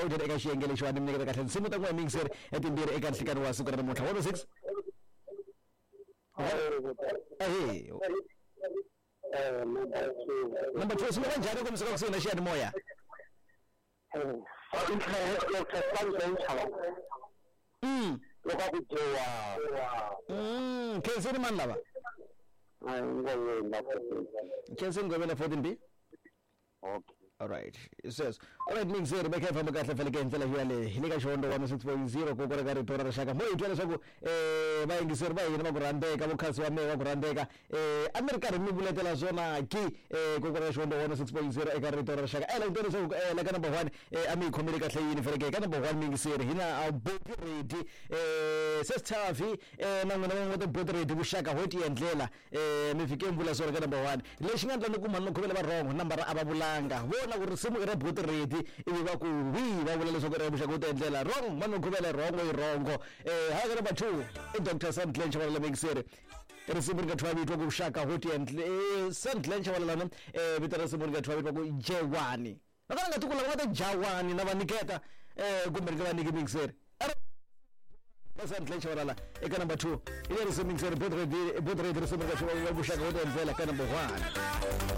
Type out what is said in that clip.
hlawuteni eka xiyenge lexiwani mi nyiketa kahle nsimu ta n'wina miyingiseri etimbirhi eka nhlikani wa siku ra namuntlha. 106. Ahee. Number 2, swi va njhani ku mi suka kusuhi na xiyanimoya? Loko a ku dyewa. Khenseni mani lava? Khenseni Ngoveni 14 B. Okay. Alright, sweswo. Alright, mixer va kha hi famba kahle faneke hi ndlela yaleyo. Hi le ka Xihondzo 106.0 koko ra ka rito ra rixaka. Mo hi twa leswaku vayingiseri va hina va ku rhandzeka, vo khasi wa mehe va ku rhandzeka. A mi ri karhi mi vuletela swona ki koko ra Xihondzo 106.0 eka rito ra rixaka. La ku twa leswaku la ka number 1 a mi yi khomele kahle yini faneke ka number 1 miyingiseri hi na Boti Ready Sesithavi na n'wina van'we va ta Boti Ready vuxaka ho tiendlela. Mi fike mi vula swona ka number 1. Lexi nga endla ni ku mhani Makhuvele va wrong, nambara a va vulanga. Vona ku risimu i ra Boti Ready ivi va ku wi va vula leswaku i ra vuxaka ho tiendlela. Wrong mhani Makhuvele wrong i wrong. Hala ka number 2 i Doctor Sam Glen Chabalala miyingiseri. Risimu ri nga thyiwa vito ku vuxaka ho tiendle Sam Glen Chabalala ne vito ra risimu ri nga thyiwa vito ku Jewani. Nakona nga tiko lava nga ta Jawani na va niketa kumbe ni nga va nyiki miyingiseri. Sam Glen Chabalala eka number 2 i le risimu miyingiseri Boti Ready Boti Ready risimu ri nga thyiwa vuxaka ho tiendlela ka number 1.